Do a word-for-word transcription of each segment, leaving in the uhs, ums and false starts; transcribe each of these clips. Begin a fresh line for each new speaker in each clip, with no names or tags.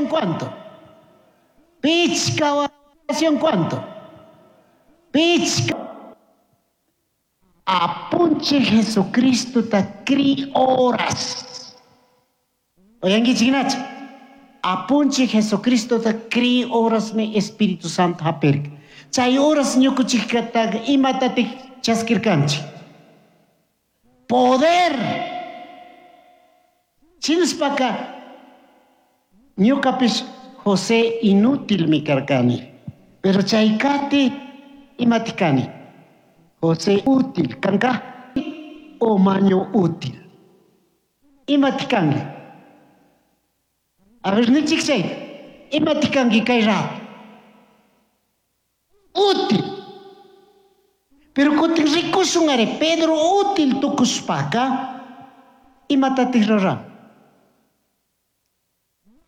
Cuánto? Pichka cuánto? Pichka. Apunchij Jesucristo ta cri horas. Oyankichik Apunchij Jesucristo ta cri horas mi Espíritu Santo hapirka. Chay horas ñukuchikata imatatik chaskirkanchik. Poder. Shinashpaka ñukapish José inútil mi karkani. Pero chay kati imatik kani. José útil kanka o maño útil. Imatik kanki. A ver, nichik chay. Imatik kanki kay rato. Útil. Pero kutin rikushun ari Pedro útil tukushpaka imatatik ruran.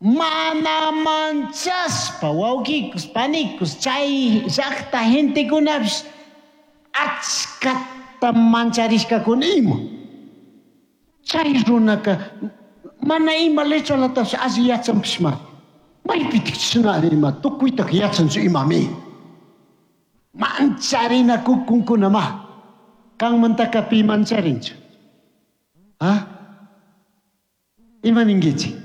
Mana manchaspa wawqikus panikus chay llaqta gentekunapish achkata mancharishkakuna ima. Chay runaka mana ima letralatapish alli yachanpishma. Maypitik chishna ima tukuytak yachanchu imami. Mancharinakukunkuna ma. Kanmantaka pi mancharinchu. Ah? Ima ninkichik?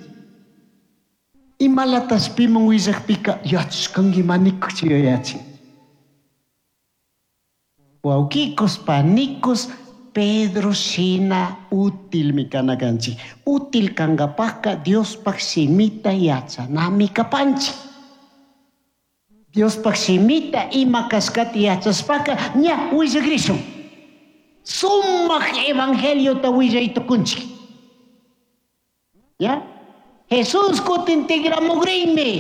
Imalatas piman willakpika yachashkanki manikuchi yuyachin. Wawqikus panikus Pedro shina útilmi kana kanchik. Útil kankapakka Diospaj shimita yachanami kapanchik. Diospaj shimita ima kashkata yachashpaka ña willakrishun. Sumak evangeliota willay tukunchik. ¿Ya? Jesús kutin tigramugrinmi.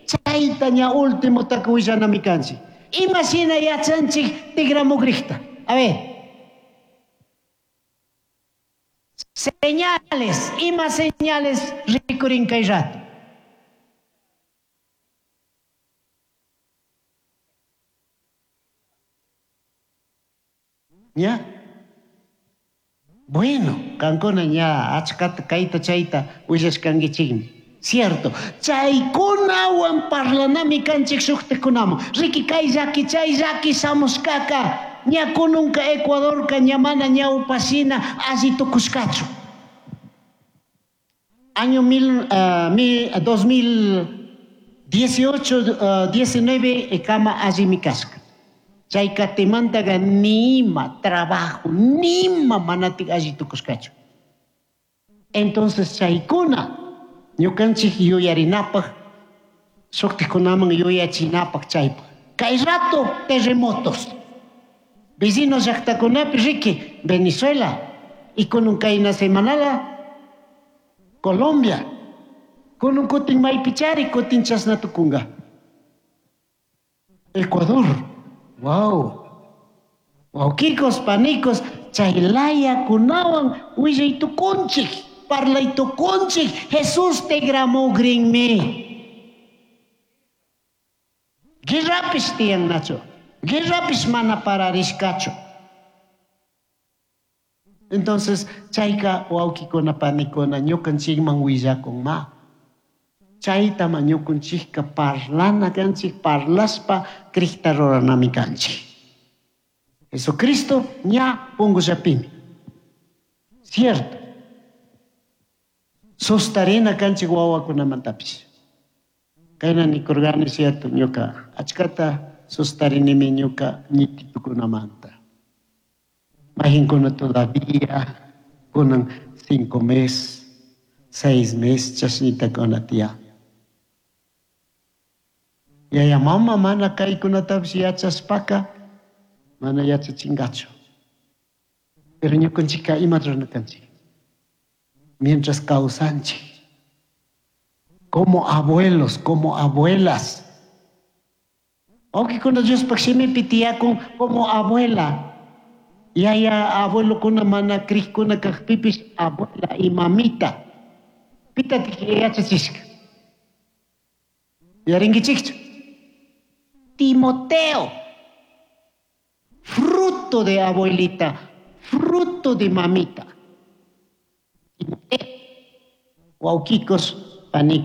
Chayta ña último willanami kanchik. Ima shina yachanchik tigramugrijta. A ver. Señales, ima señales rikurin kay rato. ¿Ya? Bueno, kankuna ña achkata kayta chayta willashkankichikmi. Cierto. Chaykunawan parlanami kanchik shuktikkunaman. Riki kay llaki chay llaki shamushkaka. Ña kununka Ecuadorka ña mana ñawpashina alli tukushkachu. Año mil, uh, mil, dos mil dieciocho, uh, diecinueve kama allimi kashka. Chay katimantaqa nima trabajo, nima manatik alli tukushkachu. Entonces chaykuna ñukanchik yuyarinapaj, shuktikkunaman yuyachinapaj chaypaj. Kay rato terremotos. Vecinos llaqtakunapi riki, Venezuela, y kunun kayna semanala, Colombia. Kunun kutin maypichari, kutin chashna tukunga. Ecuador. Wow. Wawqikos, panikos, chaylaya kunawan willay tukunchik, parlay tukunchik, Jesús tigramugrinmi. Guerrapish tiyannachu. Guerrapish mana pararishkachu. Entonces, chayka wawqikuna panikuna ñukanchikman willakun ma. Chaytama ñukanchikka parlana kanchik, parlaspa Crista ruranami kanchik. Jesucristo ña pungullapimi. Cierto. Sustarina kanchik wawakunamantapish. Kayna nikurgani cierto ñuka achkata sustarinimi ñuka ñititukunamanta. Majinkuna todavía kunan cinco meses, seis meses chashnitakuna tiyan. Yaya mama mana kaykunatapish yachashpaka mana yachachingachu. Pero ñukanchikka imata rurana kanchik. Mientras kawsanchik, como abuelos, como abuelas. Wawqikuna Diospaj shimipi tiyakun como abuela. Yaya abuelokuna mana crikuna kajpipish abuela y mamita. Pitatik yachachishka. Yarinkichikchu. Timoteo, fruto de abuelita, fruto de mamita. Timoteo, wawqikos, panikos.